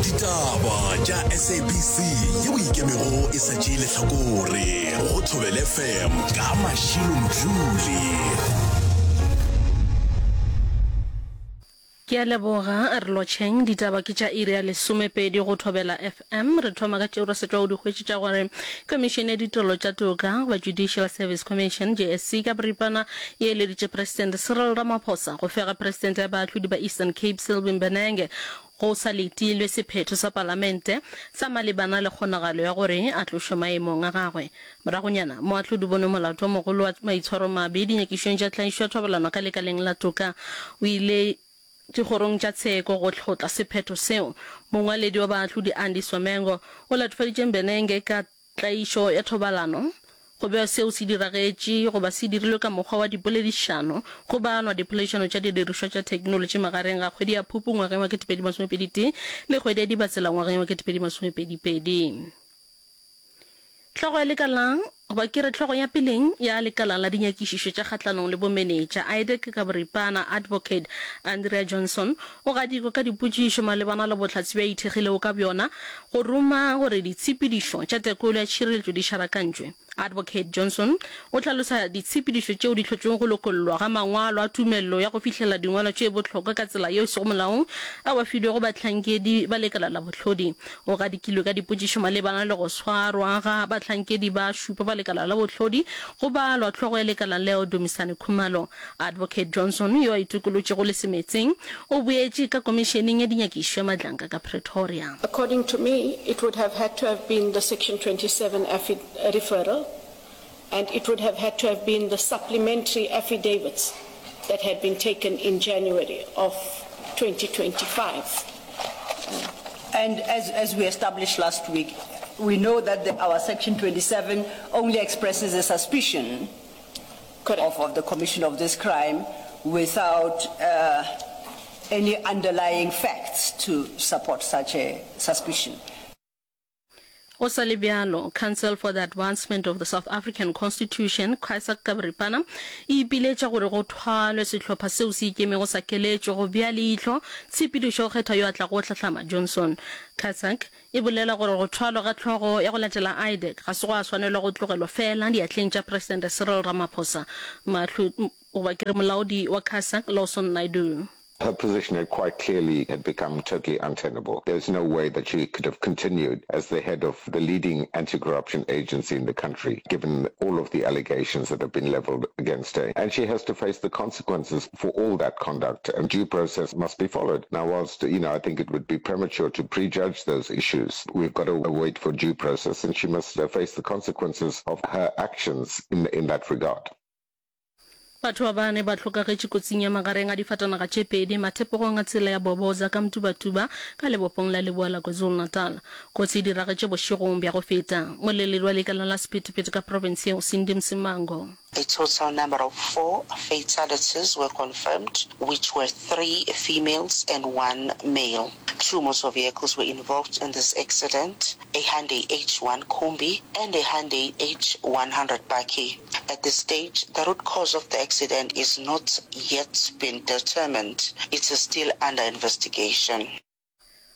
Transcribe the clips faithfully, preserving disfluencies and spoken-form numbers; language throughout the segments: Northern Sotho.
Ditaba tša S A B C yeo ikemego e sa tšee lehlakore go Thobela F M ka Mashilo Mdluli. Ke a leboga, re lotšheng. Ditaba ke tša iri ya lesomepedi go Thobela F M. Re thoma ka tšeo re sa tšwago di hwetše tša gore Khomišene ya Ditirelo tša Toka goba Judicial Service Commission, J S C, ka boripana e eleditše Presidente Cyril Ramaphosa go fega Presidente ya Baahlodi ba Eastern Cape Sylvie Mbenenge go sa letilwe sephetho sa Palamente sa malebana le kgonagalo ya gore a tlošwe maemong a gagwe. Moragonyana, moahlodi bonwe molato o mogolo wa maitshwaromabe dinyakišong tša tlaišo ya thobalano ka lekaleng la toka o ile dikgorong tša tsheko go hlotla sephetho seo. Mongwaledi wa baahlodi Andiswa Mengo o latofaditše Mbenenge ka tlaišo ya thobalano go bewa seo se diragetše goba se dirilwe ka mokgwa wa dipoledišano go balwa dipoledišano tša didirišwa tša theknolotši magareng ga kgwedi ya Phupu ngwageng wa ketepedi masomepedi tee le kgwedi ya Dibatsela ngwageng wa ketepedi masomepedi pedi. Hlogo ya lekala goba ke re hlogo ya peleng ya lekala la dinyakišišo tša kgahlanong le bomenetša IDAC ka boripana Advocate Andrea Johnson o gadikwe ka dipotšišo malebana le bohlatse bja ithekgilego ka bjona go ruma gore ditshepedišo tša tekolo ya tšhireletšo di šarakantšwe. Advocate Johnson o hlalosa ditshepedišo tšeo di hlotšego go lokollwa ga mangwalo a tumelelo ya go fihlela dingwalo tše bohlokwa ka tsela yeo e sego molaong ao a filwego bahlankedi ba lekala la bohlodi. O gadikilwe ka dipotšišo malebana le go swarwa ga bahlankedi ba šupa ba lekala la bohlodi go balwa hlogo ya lekala leo Dumisani Khumalo. Advocate Johnson yo a itokolotšego le semetseng o boetše ka komišeneng ya dinyakišo ya Madlanga ka Pretoria. According to me, it would have had to have been the Section twenty-seven affi- referral, and it would have had to have been the supplementary affidavits that had been taken in January of twenty twenty-five. And as, as we established last week, we know that the, our Section twenty-seven only expresses a suspicion of, of the commission of this crime without uh, any underlying facts to support such a suspicion. Go sa le bjalo, Council for the Advancement of the South African Constitution, CASAC ka boripana, e ipiletša gore go thwalwe sehlopha seo se ikemego sa keletšo go bea leihlo tshepedišo go kgetha yo a tlago go hlahlama Johnson. CASAC e bolela gore go thwalwa ga hlogo ya go latela IDAC ga se gwa swanelwa go tlogelwa fela diatleng tša Presidente Cyril Ramaphosa. Mahlo goba ke re molaodi wa CASAC Lawson Naidoo. Her position had quite clearly had become totally untenable. There's no way that she could have continued as the head of the leading anti-corruption agency in the country, given all of the allegations that have been leveled against her. And she has to face the consequences for all that conduct, and due process must be followed. Now, whilst, you know, I think it would be premature to prejudge those issues, we've got to wait for due process, and she must face the consequences of her actions in, in that regard. Batho ba bane ba hlokagetše kotsing ya magareng a difatanaga tše pedi mathepogong a tsela ya Boboza ka Mtubatuba ka lebopong la leboa la KwaZulu-Natal. Kotsi e diragetše bošegong bja go feta. Moleledi wa lekala la sephethephethe ka profense yeo Cindy Msimango. A total number of four fatalities were confirmed, which were three females and one male. Two motor vehicles were involved in this accident, a Hyundai H one Kombi and a Hyundai H one hundred bakkie. At this stage, the root cause of the accident is not yet been determined. It is still under investigation.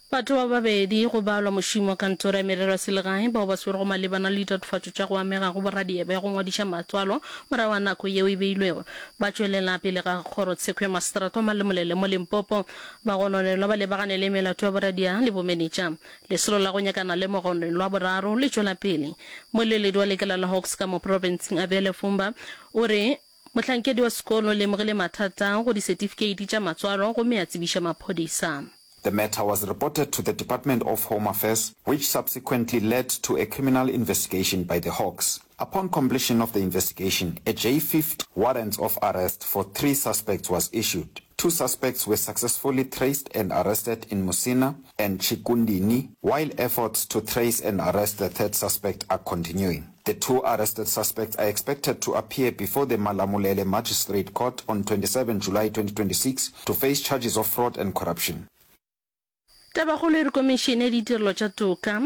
Batho ba babedi go balwa mošomi wa kantoro ya merero ya selegae bao ba swerego malebana le ditatofatšo tša go amega go boradia bja go ngwadiša matswalo morago ga nako yeo e beilwego ba tšwelela pele ga kgorotsheko ya maseterata wa Malamulele mo Limpopo. Bagononelwa ba lebagane le melato ya boradia le bomenetša. Lesolo la go nyakana le mogononelwa wa boraro le tšwela pele. Moleledi wa lekala la Hawks ka mo profenseng Abel Fumba o re mohlankedi wa sekolo o lemogile mathata go disetifikeiti tša matswalo gomme a tsebiša maphodisa. The matter was reported to the Department of Home Affairs, which subsequently led to a criminal investigation by the Hawks. Upon completion of the investigation, a J fifty warrant of arrest for three suspects was issued. Two suspects were successfully traced and arrested in Musina and Chikundini, while efforts to trace and arrest the third suspect are continuing. The two arrested suspects are expected to appear before the Malamulele Magistrate Court on twenty-seven July twenty twenty-six to face charges of fraud and corruption. Tabakgolo e re Komišene ya Ditirelo tša Toka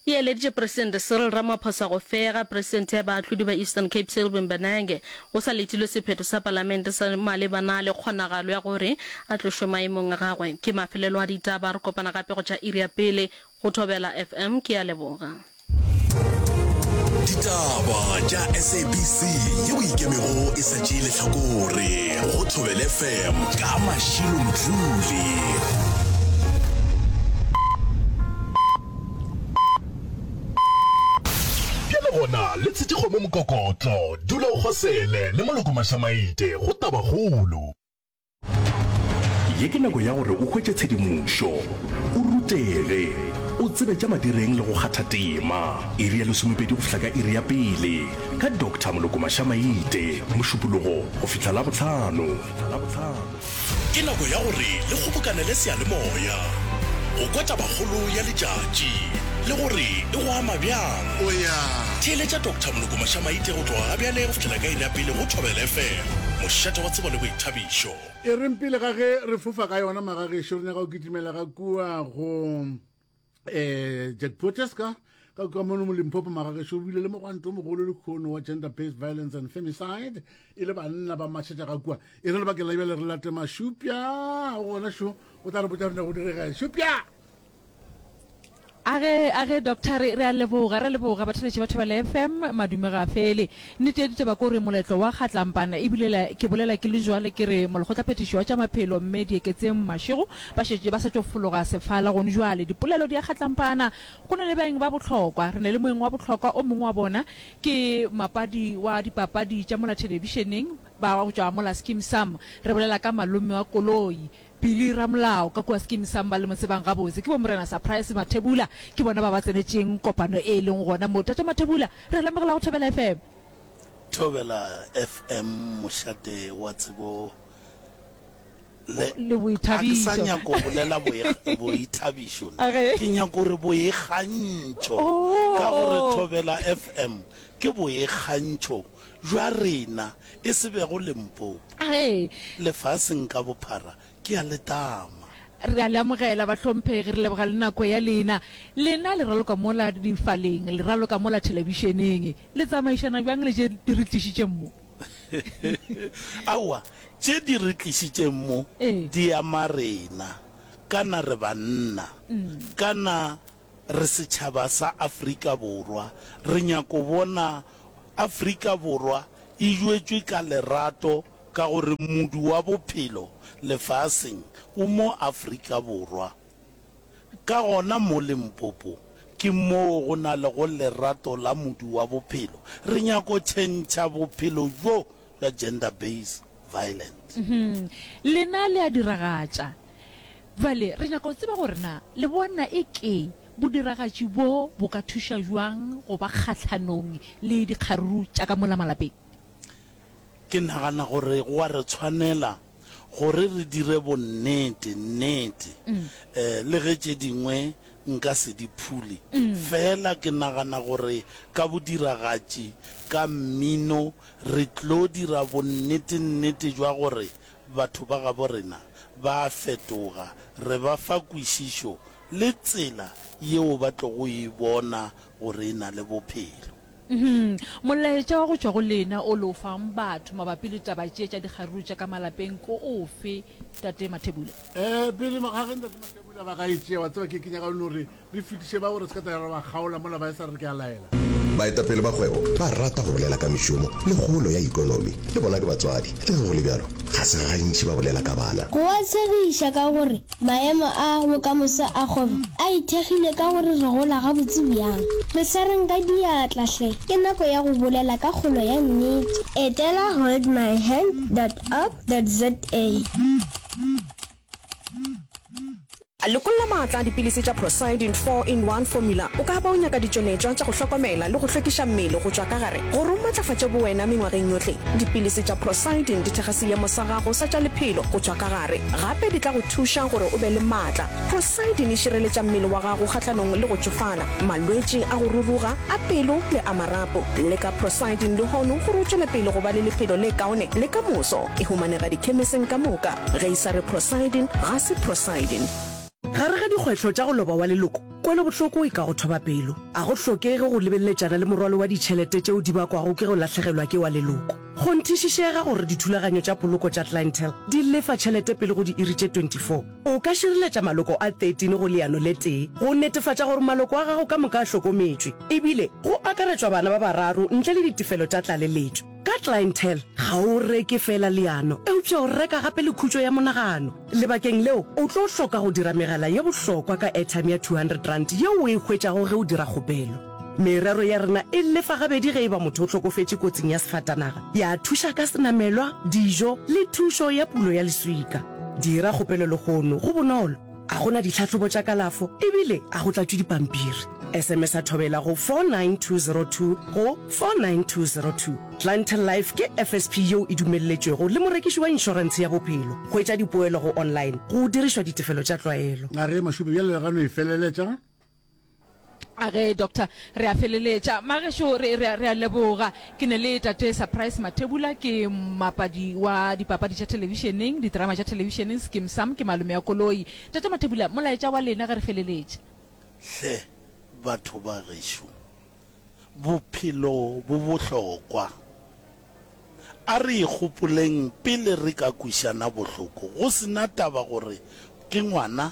E eleditše Presidente Cyril Ramaphosa go fega Presidente ya Baahlodi ba Eastern Cape Selby Mbenenge go sa letilwe sephetho sa Palamente sa malebana le kgonagalo ya gore a tlošwe maemong a gagwe. Ke mafelelo a ditaba, re kopana gape go tša iri ya pele go Thobela F M. Ke a leboga. Ditaba tša S A B C yeo e ikemego e sa tšee lehlakore go Thobela F M ka Mashilo Mdluli. Bjale gona le tshetše kgomo mokokotlo, dula o kgosele le Moloko Mašamaite go Tabakgolo. Ye ke nako ya gore o hwetše tshedimošo, o rutege, o tsebe tša madireng le go kgatha tema. Iri ya lesomepedi go fihla ka iri ya pele, ka Doctor Moloko Mašamaite, Mošupologo go fihla Labohlano. Ke nako ya gore le kgobokanele seyalemoya go kwa tabakgolo ya letšatši le gore e go ama bjang. Theeletša Doctor Moloko Mašamaite go tloga gabjale go fihlela ka iri ya pele go Thobela F M, mošate wa tsebo le boithabišo. E reng pele ga ge re fofa ka yona magagešo, re nyaka go kitimela ga kua go um Jack Potes ka ka kua mono mo Limpopo. Magagešo, o bile le mogwanto o mogolo lekgono wa gender based violence and femicide, e le banna ba mašetša ga kua. E re lebakeng la bjale re late Mašupja gona šo, o tla re botša rena go direga. Šupja. A ge, a ge, Doctor, re, re a leboga, re a leboga, batheeletši ba Thobela F M, madume ga a fele. Nnete ya ditaba ke gore moletlo wa Kgatlampana, ebile la, ke bolela ke le jwale ke re molekgotlaphethiši wa tša maphelo Mme Dieketseng Mashego ba šetše ba sa tšo fologa sefala gone jwale. Dipolelo di a Kgatlampana, go na le baeng ba bohlokwa. Re na le moeng wa bohlokwa, o mongwe wa bona ke mapadi wa dipapadi tša mola thelebišeneng ba go tšwa mola Skeem Saam. Re bolela ka malome wa koloi, Billy Ramolao ka kua Skeem Saam ba le mo tsebang gabotse ke bo Morena Surprise Mathebula, ke bona ba ba tsenetšeng kopano e leng gona mo. Tate Mathebula, re lemogela go Thobela F M. Thobela F M, mošate wa tsebo le, Le ga ke sa boithabišo. nyako bolela boithabišo, A ge. ke nyako gore boikgantšho, ka gore Oh. Thobela F M ke boikgantšho bja rena, e se bego Limpopo, A ge. lefaseng ka bophara. Ke a le tama. Re a le amogela, bahlomphegi. Re leboga le nako ya lena. Lena le raloka mola difaleng, le raloka mola thelebišeneng. Le tsamaišana bjang le tše di re tlišitšeng mo? Aowa, tše di re tlišitšeng mo Ee. di ama rena. Kana re banna, kana re setšhaba sa Afrika Borwa. Re nyako bona Afrika Borwa e jwetšwe ka lerato ka gore modu wa bophelo lefaseng o mo Afrika Borwa. Ka gona mo Limpopo ke moo go na lego lerato la modu wa bophelo. Re nyako tšhentšha bophelo bjo bja gender based violent. Lena le a diragatša. Bjale re nyaka go tseba gore na le bona e ke bodiragatši bo bo ka thuša bjang go ba kgahlanong le dikgaruru tša ka mola malapeng? Ke nagana gore go a re tshwanela gore re dire bonnete, nnete, le ge tše dingwe nka se di phule, fela ke nagana gore ka bodiragatši, ka mmino, re tlo dira bonnete-nnete jwa gore batho ba gabo rena ba a fetoga, re ba fa kwešišo le tsela yeo ba tlogo e bona gore e na le bophelo. Molaetša wa go tšwa go lena o le o fang batho mabapi le taba tše tša dikgaruru tša ka malapeng ke ofe, Tate Mathebula? Eh, pele ga ge Ntate Mathebula ba ka e tšea, wa tseba ke, ke nyaka no re re fetiše ba gore se ka tla ra ba kgaola mola ba e sa re ke a laela. Baetapele ba kgwebo ba rata go bolela ka mešomo le kgolo ya ekonomi. Le bona ke batswadi. Le ge go le bjalo, ga se gantši ba bolela ka bana. Go a tshegiša ka gore maemo a bokamoso a kgwebo a ithekgile ka gore re gola gabotse bjang. Re swareng ka diatla hle, ke nako ya go bolela ka kgolo ya nnete. Etela hold my hand dot org dot za. Lekolla maatla a dipilisi tša Procyldin four in one Formula. O ka ba o nyaka ditšweletšwa tša go hlokomela le go hlwekiša mmele go tšwa ka gare gore o matlafatše bowena mengwageng yohle. Dipilisi tša Procyldin di thekga seemo sa gago sa tša lephelo go tšwa ka gare. Gape di tla go thuša gore o be le maatla. Procyldin e šireletša mmele wa gago kgahlanong le go tšofala, malwetši a go ruruga, a pelo le a marapo. Leka Procyldin lehono gore o tšwele pele go ba le lephelo le kaone le ka moso. E humanega dikhemiseng ka moka. Ge e sa re Procyldin, ga se Procyldin. Gare ga dikgwetlho tša go loba wa leloko Kwelobohloko e ka go thoba pelo. A go hlokege go lebeleletšana le morwalo wa ditšhelete tšeo di bakwago ke go lahlegelwa ke wa leloko. Kgonthišišega gore dithulaganyo tša poloko tša Clientele di lefa tšhelete pele go diiri tše twenty four. O ka šireletša maloko a thirteen go leano le tee go netefatša gore maloko a gago ka moka a hlokometšwe, ebile go akaretšwa bana ba bararo ntle le ditefelo tša tlaleletšo. Ka Clientele, ga o reke feela leano, eupša o reka gape le khutšo ya monagano. Lebakeng leo, o tlo hloka go dira megala ye bohlokwa ka airtime ya two hundred rand yeo o e hwetšago ge o dira kgopelo. Merero ya rena e lefa gabedi ge e ba motho o hlokofetše kotsing ya sefatanaga, ya thuša ka senamelwa, dijo le thušo ya pulo ya leswika. Dira kgopelo lehono, go bonolo, a go na ditlhahlobo tša kalafo ebile a go tlatšwe dipampiri. S M S a thobela go four nine two zero two go four nine two zero two. Clientele Life ke F S P yeo e dumelletšwego le morekiši wa inšorentshe ya bophelo. Hwetša dipoelo go online go dirišwa ditefelo tša tlwaelo. A re, Mašupe, bjale re gano e feleletša. A ge, Doctor, re a feleletša. Magešo, re, re, re a leboga. Ke ne le Tate Surprise Mathebula, ke mmapadi wa dipapadi tša thelebišeneng, diterama tša thelebišeneng, Skeem Saam, ke malome ya koloi. Tate Mathebula, molaetša wa lena ge re feleletša. Hle batho ba gešo, bophelo bo bohlokwa. A re ikgopoleng pele re ka kwešana bohloko, go se na taba gore ke ngwana,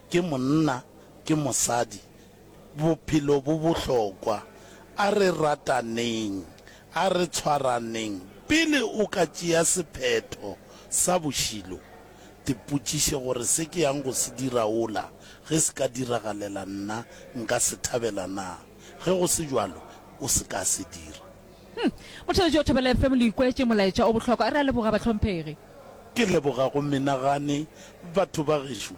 ke monna, ke mosadi. Bophelo bo bohlokwa. A re rataneng. A re tshwaraneng. Pele o ka tšea sephetho sa bošilo, tipotšiše gore se ke yang go se dira wola ge se ka diragalela nna nka se thabela na? Ge go se bjalo, o se ka se dira. Hm. Motheeletši wa Thobela F M le ikwetše molaetša o bohlokwa. Re a leboga bahlomphegi. Ke leboga go menagane batho ba gešo.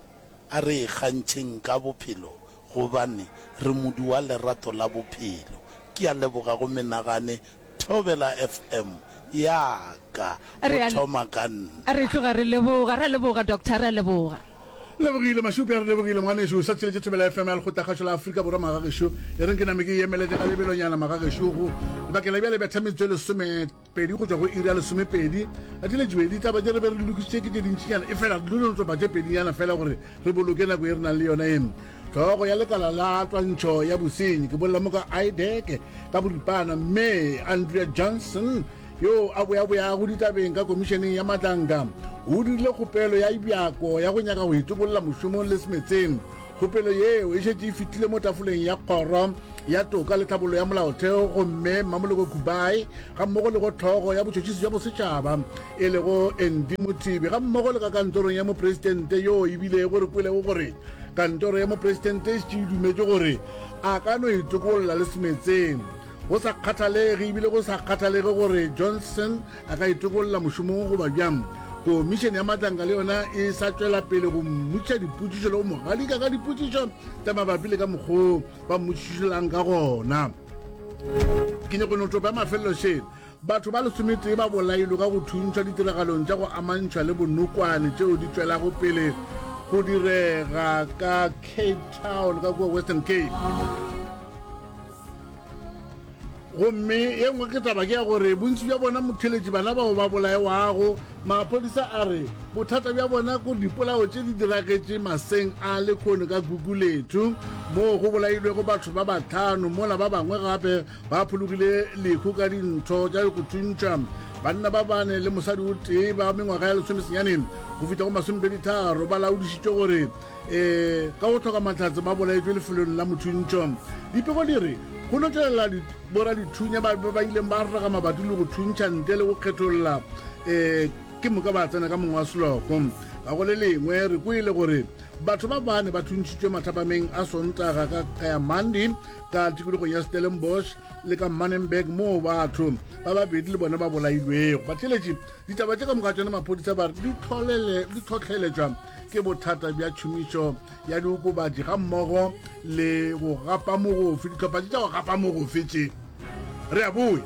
A re ikgantšheng ka bophelo gobane re modu wa lerato la bophelo. Ke a leboga go menagane Thobela F M ya ka Re go a thoma ka nna. Re tloga re leboga. Re a leboga Doctor, re a leboga. Lebogile Mašupi, a re lebogile ngwanešu. O sa tšheletše Thobela F M ya Lekgotlakgašo la Afrika Borwa magagešo. E reng ke name ke e emelete ka lebelonyana magagešo go lebakeng la bjale betha metsotso e lesome pedi go tšwa go iri ya lesomepedi. A di letšwe ditaba tše re be re di lokišitše ke tše dintšinyana, efela re dilo topa tše pedinyana fela gore re boloke nako ye re nang le yona ye. Hlogo ya lekala la twantšho ya bosenyi, ke bolela mo ka I D E C ka boripana, Mme Andrea Johnson, yo a boyaboyago ditabeng ka Komišeneng ya Matlanka, o dirile kgopelo ya bjako ya go nyaka go itokolla mošomong le semetseng. Kgopelo yeo e šetše e fetile mo tafoleng ya Kgoro ya Toka le Tlhabollo ya Molaotheo gomme Mmamoloko Kubayi gammogo le go Hlogo ya Botšhotšhisi bja Bosetšhaba e lego Andy Mothibi gammogo le ka kantorong ya Mopresidente yoo e bilego re kwelego gore kantoro ya Mopresidente e šetše e dumetše gore a ka no itokolla le semetseng go sa kgathalege ebile go sa kgathalege gore Johnson a ka itokolla mošomong goba bjang. Komišene ya Matlanka le yona e sa tšwela pele go mmotšiša dipotšišo le go mo gadika ka dipotšišo tša mabapi le ka mokgwa ba mmotšišelang ka gona. Ke nyako no topa ya mafelelo še. Batho ba lesometee ba bolailwe ka go thuntšhwa ditiragalong tša go amantšhwa le bonokwane tšeo di tšwelago pele go direga ka Cape Town ka kua Western Cape. Gomme ye nngwe ke taba ke ya gore bontši bja bona motheletši bana bao ba bolaewago, maphodisa a re bothata bja bona kore dipolao tše di diragetše maseng a lekhono ka Gugulethu moo go bolailwego batho ba bahlano mola ba bangwe gape ba phologile lehu ka dintho tša go thuntšha. Banna ba bane le mosadi o tee ba mengwaga ya lesomesenyane go fihla go masomepedi-tharo ba laodišitšwe gore um ka go hloka mahlatse ba bolaetšwe lefelong la mothuntšho. Dipego di re go no tšwelela boradithunya ba ba ileng ba raga mabati le go thuntšha ntle le go kgetholla um ke moka ba tsena ka mongwe wa seloko. Ka go le lengwe re kwele gore batho ba bane ba thuntšhitšwe mathapameng a Sontaga ka Kayamandi ka tikologong ya Stellenbosch le ka Manenberg moo batho ba babedi le bona ba bolailwego. Batheeletši, ditaba tše ka moka tšona maphodisa ba re di tlholele di tlhohleletšwa ke bothata bja tšhomišo ya diokobatši gammogo le go gapa mogofe, dihlopha tše tša go gapa mogofe tše. Re a boya.